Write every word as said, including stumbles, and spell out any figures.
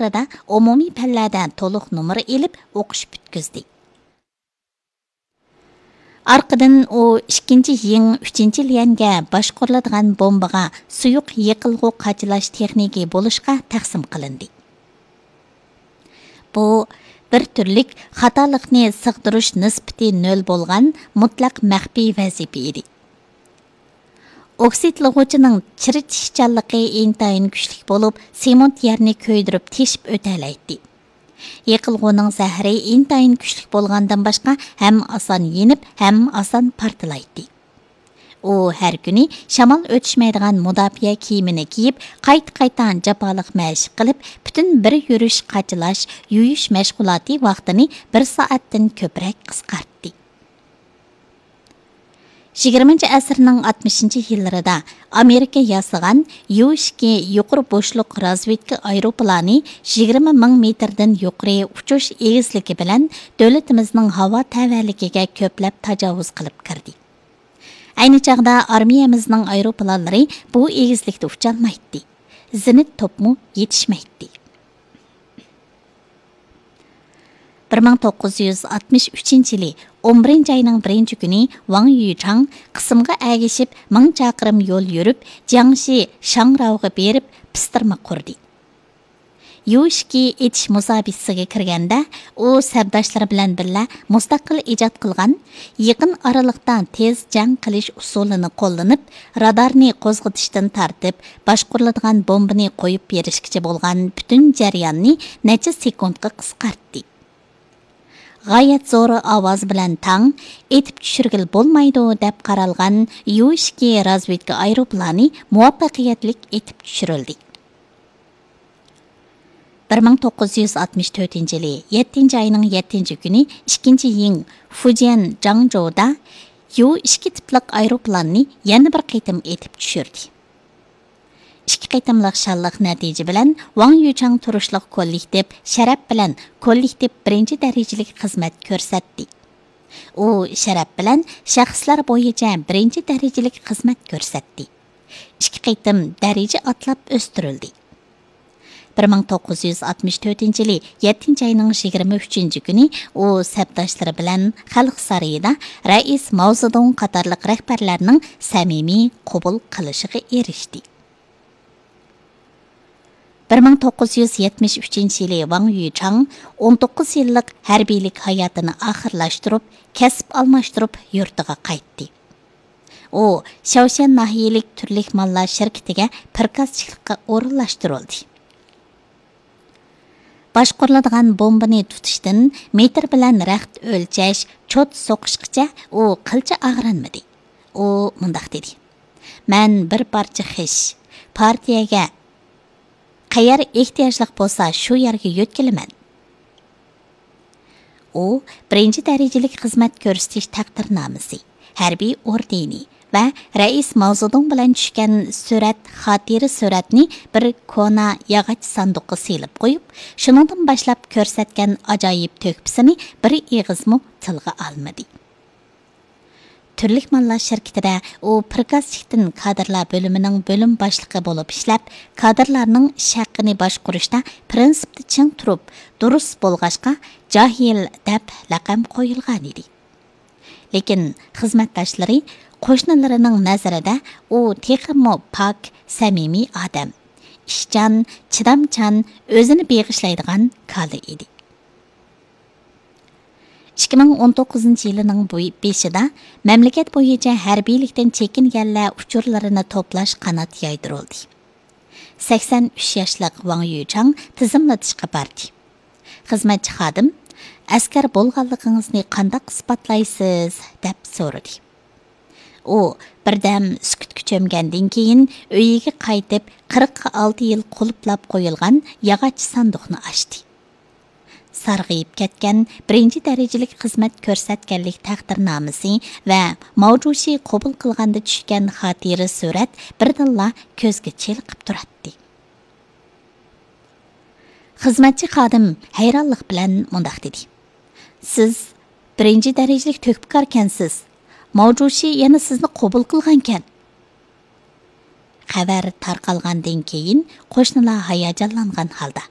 ئومۇمىي پەنلەردە تولۇق نومۇر ئېلىپ ئوقۇش پۈتكۈزدى. ئارقىدىن ئۇ ئىككىنچى يىڭ ئۈچىنچى ليەنگە باشقۇرۇلىدىغان بومبىغا سۇيۇق يېقىلغۇ قاچىلاش تېخنىكى بولۇشقا تەقسىم قىلىندى. بۇ بىر تۈرلۈك خاتالىقنى سىغدۇرۇش نىسبىتى نۆل بولغان مۇتلەق مەخپىي ۋەزىپە ئىدى. ئوكسىدلىغۇچىنىڭ چىرىتىشچانلىقى ئىنتايىن كۈچلۈك بولۇپ، سېمونت يەرنى كۆيدۈرۈپ تېشىپ ئۆتەلەيتتى. يېقىلغۇنىڭ زەھىرى ئىنتايىن كۈچلۈك بولغاندىن باشقا، ھەم ئاسان يېنىپ، ھەم ئاسان پارتلايتتى. ئۇ ھەر كۈنى شامال ئۆتۈشمەيدىغان مۇداپىئە كىيىمىنى كىيىپ، قايتا-قايتا جاپالىق مەشىق قىلىپ، پۈتۈن بىر يۈرۈش قاچىلاش، يۇيۇش مەشغۇلاتى ۋاقتىنى بىر سائەتتىن كۆپرەك قىسقارتتى. يىگىرمىنچى ئەسىرنىڭ ئاتمىشىنچى يىللىرىدا ئامېرىكا ياسىغان يۇ ئىككى يۇقىرى بوشلۇق رازۋېدكا ئايروپىلانى يىگىرمە مىڭ مېتىردىن يۇقىرى ئۇچۇش ئېگىزلىكى بىلەن دۆلىتىمىزنىڭ ھاۋا تەۋەلىكىگە كۆپلەپ تاجاۋۇز قىلىپ كىردى. ئەينى چاغدا ئارمىيەمىزنىڭ ئايروپىلانلىرى بۇ ئېگىزلىكتە ئۇچالمايتتى. زېنىت توپمۇ يېتىشمەيتتى. بىر مىڭ توققۇز يۈز ئاتمىش ئۈچىنچى يىلى ئون بىرىنچى ئاينىڭ بىرىنچى كۈنى ۋاڭ يۈچاڭ قىسىمغا ئەگىشىپ مىڭ چاقىرىم يول يۈرۈپ، جياڭشى شاڭراۋغا بېرىپ پىستىرما قۇردى. يۇ ئىككى ئېتىش مۇسابىقىسىگە كىرگەندە، ئۇ سەپداشلىرى بىلەن بىللە مۇستەقىل ئىجاد قىلغان، يېقىن ئارىلىقتا تېز جەڭ قىلىش ئۇسۇلىنى قوللىنىپ، رادارنى قوزغىتىشتىن تارتىپ، باشقۇرۇلىدىغان بومبىنى قويۇپ بېرىشكىچە بولغان پۈتۈن جەرياننى نەچچە سېكۇنتقا قىسقارتتى. غايەت زور ئاۋاز بىلەن تاڭ ئېتىپ چۈشۈرگىلى بولمايدۇ دەپ قارالغان يۇ ئىككى رازۋېدكا ئايروپىلانى مۇۋەپپەقىيەتلىك ئېتىپ چۈشۈرۈلدى. بىر مىڭ توققۇز يۈز ئاتمىش تۆتىنچى يىلى يەتتىنچى ئاينىڭ يەتتىنچى كۈنى ئىككىنچى يىڭ فۇجيەن جاڭجۇدا يۇ ئىككى تىپلىق ئايروپىلاننى يەنە بىر قېتىم ئېتىپ چۈشۈردى. ئىككى قېتىملىق شانلىق نەتىجە بىلەن ۋاڭ يۈچاڭ تۇرۇشلۇق كوللېكتىپ شەرەپ بىلەن كوللېكتىپ بىرىنچى دەرىجىلىك خىزمەت كۆرسەتتى. ئۇ شەرەپ بىلەن شەخسلەر بويىچە بىرىنچى دەرىجىلىك خىزمەت كۆرسەتتى. ئىككى قېتىم دەرىجە ئاتلاپ ئۆستۈرۈلدى. بىر مىڭ توققۇز يۈز ئاتمىش تۆتىنچى يىلى يەتتىنچى ئاينىڭ يىگىرمە ئۈچىنچى كۈنى ئۇ سەپداشلىرى بىلەن خەلق سارىيىدا رەئىس ماۋزېدۇڭ قاتارلىق رەھبەرلەرنىڭ سەمىمىي قوبۇل قىلىشىغا ئېرىشتى. بىر مىڭ توققۇز يۈز يەتمىش ئۈچىنچى يىلى ۋاڭ يۈچاڭ ئون توققۇز يىللىق ھەربىيلىك ھاياتىنى ئاخىرلاشتۇرۇپ، كەسىپ ئالماشتۇرۇپ يۇرتىغا قايتتى. ئۇ شياۋشەن ناھىيەلىك تۈرلۈك ماللار شىركىتىگە پىركازچىلىققا ئورۇنلاشتۇرۇلدى. باشقۇرۇلىدىغان بومبىنى تۇتۇشتىن مېتىر بىلەن رەخت ئۆلچەش، چوت سوقۇشقىچە ئۇ قىلچە ئاغرىنمىدى. ئۇ مۇنداق دېدى: «مەن بىر پارچە خىش، پارتىيەگە قەيەر ئېھتىياجلىق بولسا، شۇ يەرگە يۆتكىلىمەن.» ئۇ بىرىنچى دەرىجىلىك خىزمەت كۆرسىتىش تەقدىرنامىسى، ھەربىي ئوردېنى ۋە رەئىس ماۋزېدۇڭ بىلەن چۈشكەن سۈرەت، خاتىرە سۈرەتنى بىر كونا ياغاچ ساندۇققا سېلىپ قويۇپ، شۇنىڭدىن باشلاپ كۆرسەتكەن ئاجايىپ تۆھپىسىنى بىر ئېغىزمۇ تىلغا ئالمىدى. تۈرلۈك ماللار شىركىتىدە ئۇ پىركازچىكتىن كادىرلار بۆلۈمىنىڭ بۆلۈم باشلىقى بولۇپ ئىشلەپ، كادىرلارنىڭ ئىش ھەققىنى باشقۇرۇشتا پىرىنسىپتا چىڭ تۇرۇپ، دۇرۇس بولغاچقا، جاھىل دەپ لەقەم قويۇلغانىدى. لېكىن خىزمەتداشلىرى، قوشنىلىرىنىڭ نەزىرىدە ئۇ تېخىمۇ پاك، سەمىمىي ئادەم، ئىشچان، چىدامچان، ئۆزىنى بېغىشلايدىغان كالا ئىدى. ئىككى مىڭ ئون توققۇزىنچى يىلىنىڭ بۇ بېشىدا مەملىكەت بويىچە ھەربىيلىكتىن چېكىنگەنلەر ئۇچۇرلىرىنى توپلاش قانات يايدۇرۇلدى. سەكسەن ئۈچ ياشلىق ۋاڭ يۈچاڭ تىزىملىتىشقا باردى. خىزمەتچى خادىم، «ئەسكەر بولغانلىقىڭىزنى قانداق ئىسپاتلايسىز؟» دەپ سورىدى. ئۇ بىردەم سۈكۈتكە چۆمگەندىن كېيىن، ئۆيىگە قايتىپ، قىرىق ئالتە يىل قۇلۇپلاپ قويۇلغان ياغاچ ساندۇقنى ئاچتى. سارغىيىپ كەتكەن بىرىنچى دەرىجىلىك خىزمەت كۆرسەتكەنلىك تەقدىرنامىسى ۋە ماۋجۇشى قوبۇل قىلغاندا چۈشكەن خاتىرە سۈرەت بىردىنلا كۆزگە چېلىقىپ تۇراتتى. خىزمەتچى خادىم ھەيرانلىق بىلەن مۇنداق دېدى: «سىز بىرىنچى دەرىجىلىك تۆھپىكاركەنسىز. ماۋجۇشى يەنە سىزنى قوبۇل قىلغانكەن.» خەۋەر تارقالغاندىن كېيىن، قوشنىلار ھاياجانلانغان ھالدا: